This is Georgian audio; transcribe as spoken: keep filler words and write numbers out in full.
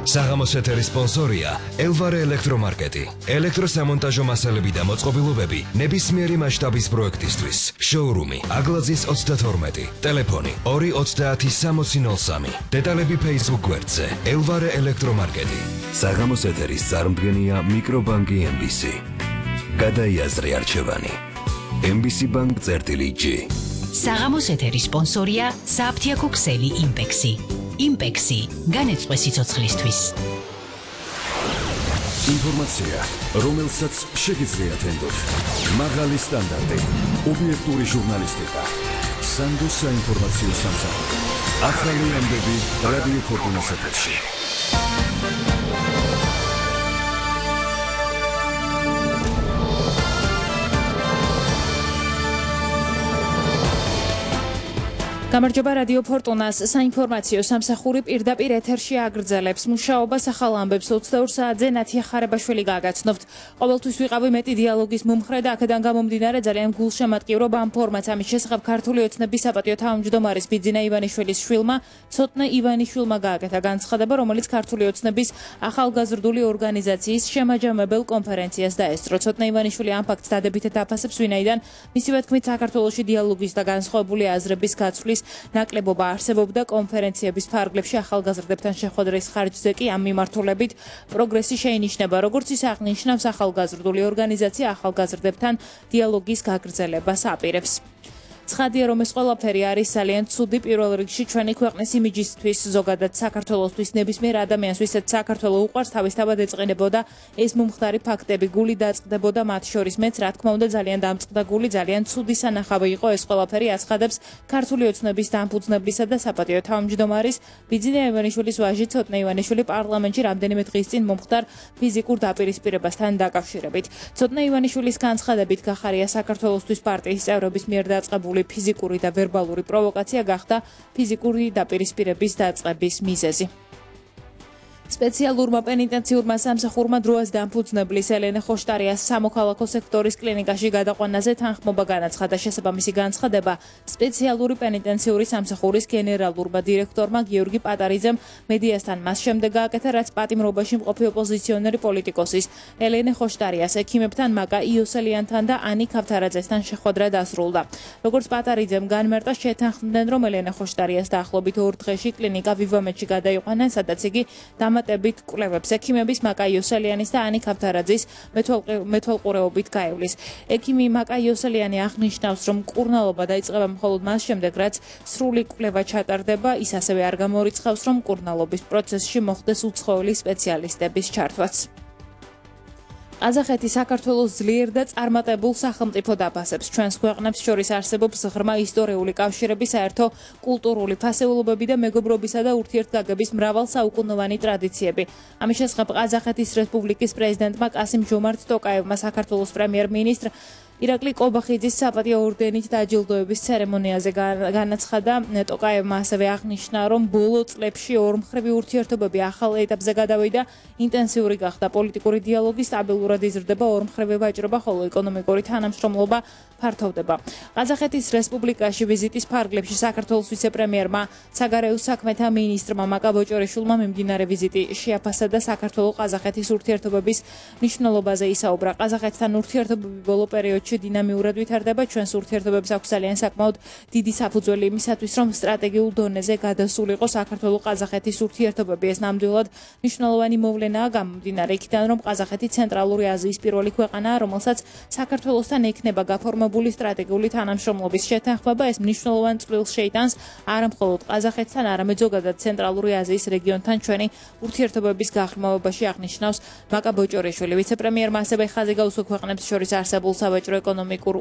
საღამოს ეთერის სპონსორია ელვარე ელექტრომარკეტი. ელექტროსამონტაჟო მასალები და მოწყობილობები ნებისმიერი მასშტაბის პროექტისთვის. შოურუმი აგლაძის ოცდათორმეტი. ტელეფონი ორი ოცდაათი სამოცი ნოლ სამი. დეტალები Facebook გვერდზე ელვარე ელექტრომარკეტი. საღამოს ეთერის წარმდგენია მიკრობანკი ემ ბი სი. გადაიაზრე არჩევანი. ემ ბი სი ბანკ წერტილი ჯი. საღამოს ეთერის სპონსორია საფთიაქო ქსელი იმპექსი. იმპექსი განეწყვე სიცოცხლისთვის. ინფორმაცია, რომელსაც შეგიძლიათ ენდოთ. მაღალი სტანდარტი, ობიექტური ჟურნალისტიკა. სანდო საინფორმაციო სამსახური. ახალი ამბები რადიო ფორტუნას ეთერში. გამარჯობა რადიო ფორტუნას საინფორმაციო სამსახური პირდაპირ ეთერში აგრძელებს მუშაობას ახალ ამბებს ოცდაორ საათზე ნათია ხარებაშვილი გაგაცნობთ. ყოველთვის ვიყავი მეტი დიალოგის მომხრე და აქედან გამომდინარე ძალიან გულშემატკივრობ ამ ფორმატს ამის შესახებ ქართული ოცნების საპატიო თავმჯდომარის ბიძინა ივანიშვილის შვილმა ცოტნე ივანიშვილმა გააკეთა განცხადება, რომელიც ქართული ოცნების ახალგაზრდული ორგანიზაციის შემაჯამებელ კონფერენციას დაესწრო. ცოტნე ივანიშვილი ამ ფაქტს დადებითად აფასებს, ვინაიდან მისივე თქმით საქართველოში დიალოგის და განსხვავებული აზრების გაცვლის ნაკლებობა არსებობდა კონფერენციების ფარგლებში ახალგაზრდებთან შეხვედრის ხარჯზე კი ამ მიმართულებით პროგრესი შეინიშნება, როგორც ის აღნიშნავს ახალგაზრდული ორგანიზაცია ახალგაზრდებთან დიალოგის გაგრძელებას აპირებს. ცხადია, რომ ეს ყველაფერი არის ძალიან ცუდი პირველ რიგში ჩვენი ქვეყნის იმიჯისთვის, ზოგადად საქართველოსთვის, ნებისმიერ ადამიანს, ვისაც საქართველო უყვარს, თავისთავად ეწყინებოდა ეს მომხდარი ფაქტები, გული დაწყდებოდა მათ შორის. მეც რა თქმა უნდა ძალიან დამწყდა გული, ძალიან ცუდი სანახავი იყო ეს ყველაფერი, აცხადებს ქართული ოცნების დამფუძნებლისა და საპატიო თავმჯდომარის ბიძინა ივანიშვილის ვაჟი ცოტნე ივანიშვილი პარლამენტში რამდენიმე დღის წინ მომხდარ ფიზიკურ დაპირისპირებასთან დაკავშირებით. ცოტნე ივანიშვილის განცხადებით გახარია საქართველოსთვის პარტიის წევრების მიერ დაწყებული ფიზიკური და ვერბალური პროვოკაცია გახდა ფიზიკური დაპირისპირების დაწყების მიზეზი. სპეციალურმა პენიტენციურმა სამსახურმა დროას დამფუძნებლის ელენე ხოშტარიას სამოქალაქო სექტორის კლინიკაში გადაყვანაზე თანხმობა განაცხადა. შესაბამისი განცხადება სპეციალური პენიტენციური სამსახურის გენერალურმა დირექტორმა გიორგი პატარიძემ მედიასთან მას შემდეგ გააკეთა, რაც პატიმრობაში მყოფი ოპოზიციონერი პოლიტიკოსის ელენე ხოშტარიას ექიმებთან მაკა იოსელიანთან და ანი ქავთარაძესთან შეხვედრა დასრულდა. როგორც პატარიძემ განმარტა, შეთანხმდნენ, რომ ელენე ხოშტარიას დაახლოებით ორ დღეში კლინიკა ვივამეთში გადაიყვანა, სადაც იგი დამატებით კვლევებს ექიმების მაკა იოსელიანის და ანი ქავთარაძის მეთვალყურეობით გაივლის. ექიმი მაკა იოსელიანი აღნიშნავს, რომ მკურნალობა დაიწყება მხოლოდ მას შემდეგ, რაც სრული კვლევა ჩატარდება. ის ასევე არ გამორიცხავს, რომ მკურნალობის პროცესში მოხდეს უცხოელი სპეციალისტების ჩართვაც. ყაზახეთი საქართველოს ძლიერ და წარმატებულ სახელმწიფოდ აფასებს. ჩვენს ქვეყნებს შორის არსებობს ღრმა ისტორიული კავშირები, საერთო კულტურული ფასეულობები და მეგობრობისა და ურთიერთგაგების მრავალსაუკუნოვანი ტრადიციები. ამის შესახებ ყაზახეთის რესპუბლიკის პრეზიდენტმა კასიმ ჟომართ ტოკაევმა საქართველოს პრემიერ-მინისტრ ირაკლი კობახიძის საპატიო ორდენით დაჯილდოების ცერემონიაზე განაცხადა. ტოკაევმა ასევე აღნიშნა, რომ ბოლო წლებში ორმხრივი ურთიერთობები ახალ ეტაპზე გადავიდა, ინტენსიური გახდა პოლიტიკური დიალოგი, სტაბილურად იზრდება ორმხრივი ვაჭრობა, ხოლო ეკონომიკური თანამშრომლობა ფართოვდება. ყაზახეთის რესპუბლიკაში ვიზიტის ფარგლებში საქართველოს ვიცე-პრემიერმა, საგარეო საქმეთა მინისტრმა მაკა ბოჭორიშვილმა მიმდინარე ვიზიტი შეაფასა და საქართველო-ყაზახეთის ურთიერთობების მნიშვნელობაზე ისაუბრა. ყაზახეთთან ურთიერთობები ბოლო პერიოდში დინამიურად ვითარდება. ჩვენს ურთიერთობებს აქვს ძალიან საკმაოდ დიდი საფუძველი იმისათვის, რომ სტრატეგიულ დონეზე გადასულიყო საქართველო-ყაზახეთის ურთიერთობები. ეს ნამდვილად მნიშვნელოვანი მოვლენაა გამომდინარე იქიდან, რომ ყაზახეთი ცენტრალური აზიის პირველი ქვეყანაა, რომელსაც საქართველოსთან ექნება გაფორმებული სტრატეგიული თანამშრომლობის შეთანხმება. ეს მნიშვნელოვან წვლილს შეიტანს არა მხოლოდ ყაზახეთთან, არამედ ზოგადად ცენტრალური აზიის რეგიონთან ჩვენი ურთიერთობების გაღრმავებაში, აღნიშნავს მაკა ბოჭორიშვილი. ვიცე-პრემიერმა ასევე ხაზი გაუსვა ქვეყნებს შორის არსებულ სავაჭრო ეკონომიკურ